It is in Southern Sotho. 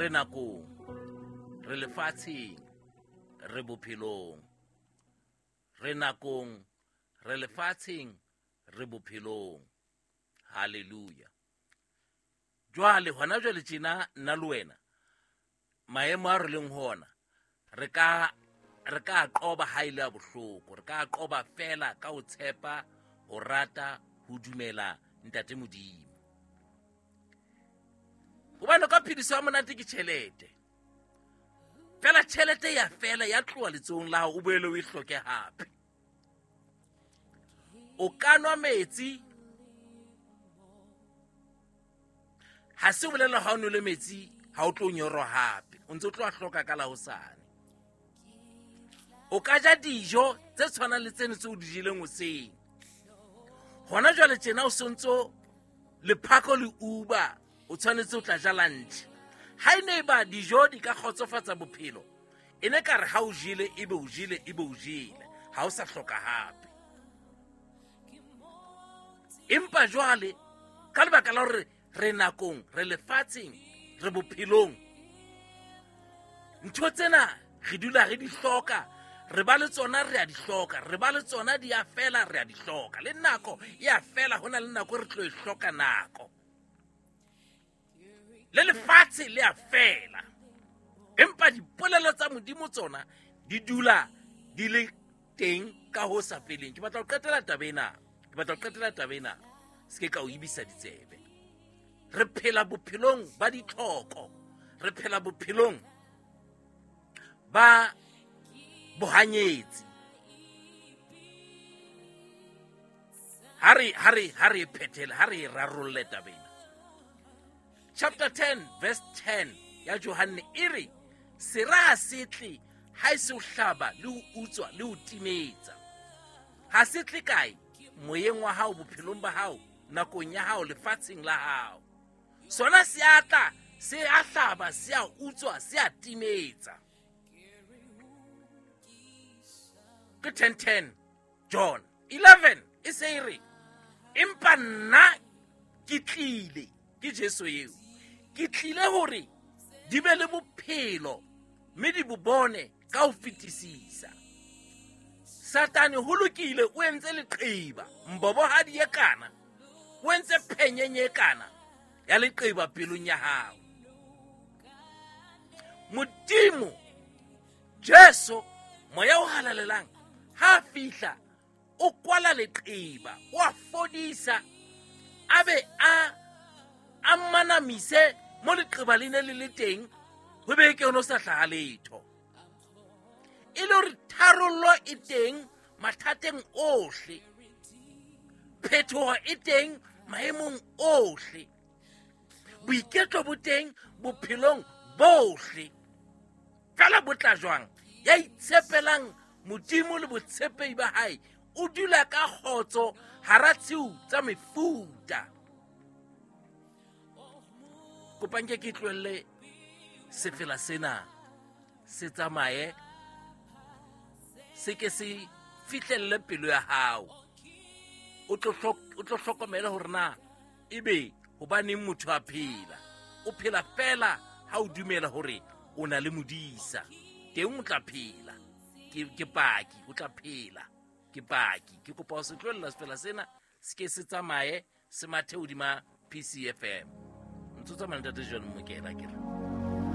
Re nakong, re lefatsheng, re bophelong. Re nakong, re lefatsheng, re bophelong. Hallelujah. Jwale hona jwale tjena nna le wena maemo a re leng ho ona re ka qoba ha ile a bohloko, re ka qoba fela ka ho tshepa, ho rata, ho dumela Ntate Modimo. Hobane ka phediso ya monate ke tjhelete. Fela tjhelete ya fela ya tloha letsohong la hao, o boele o e hloke hape. O ka nwa metsi, ha se bolela ha o nwele metsi ha o tlo nyorwa hape, o ntse o tlo a hloka ka la hosane. O ka ja dijo tse tshwanang le tseno tse o di jeleng hoseng. Hona jwale tjena o sontso lephako le Uber, o tshwanetse o tla ja lunch. Ha e ne ba dijo di ka kgotsofatsa bophelo, e ne ka re ha o jele ebe o jele ebe o jele, ha o sa hloka hape. Empa jwale ka lebaka la hore re nakong, re lefatsheng, re bophelong, ntho tsena re dula re di hloka, re ba le tsona re a di hloka, re ba le tsona di a fela re a di hloka, le nako e a fela, ho na le nako re tlo e hloka nako, le lefatshe le a fela. Empa dipolelo tsa Modimo tsona di dula di le teng ka ho sa feleng. Ke batla ho qetela taba ena, ke batla ho qetela taba ena, se ke ka o ibisa ditsebe. Re phela bophelong ba ditlhoko, re phela bophelong ba bohanyetsi. Ha re phethele, ha re rarolle taba ena. Chapter 10 verse 10 ya Johanne e re, sera ha se tle ha e se ho hlaba le ho utswa le ho timetsa. Ha se tle kae? Moyeng wa hao, bophelong ba hao, nakong ya hao, lefatsheng la hao. Sona se a tla, se a hlaba, se a utswa, se a timetsa. Ke 10:10 John 11 e se e re, empa nna ke tlile, ke Jesu eo, ke tlile hore di be le bophelo mme di bo bone ka ho fetisisa. Satane ho lokile, o entse leqeba, mbobohadi e kana, o entse phenyenye e kana ya leqeba pelong ya hao. Modimo Jesu moya o halalelang ha fihla o kwala leqeba, o a fodisa, a be a manamise mo leqeba le ne le le teng, ho be ke ono sa hlaha letho. E le hore tharollo e teng mathateng ohle, phetoho e teng maemong ohle, boiketlo bo teng bophelong bohle. Fela bo tla jwang? Ya itshepelang Modimo le botshepehi ba hae o dula ka kgotso hara tshiu tsa mefuta. Kopang ke tlohelle sefela sena se tsamaye, se ke se fihlelle pelo ya hao. O tlo hlokomela hore na ebe hobaneng motho a phela. O phela fela ha o dumela hore o na le modisa, teng o tla phela. Ke paki, o tla phela. Ke paki. Ke kopa ho se tlohella sefela sena, se ke se tsamaye, se mathe hodima PCFM. Ntso tsamaya ntate John Mokela ke re.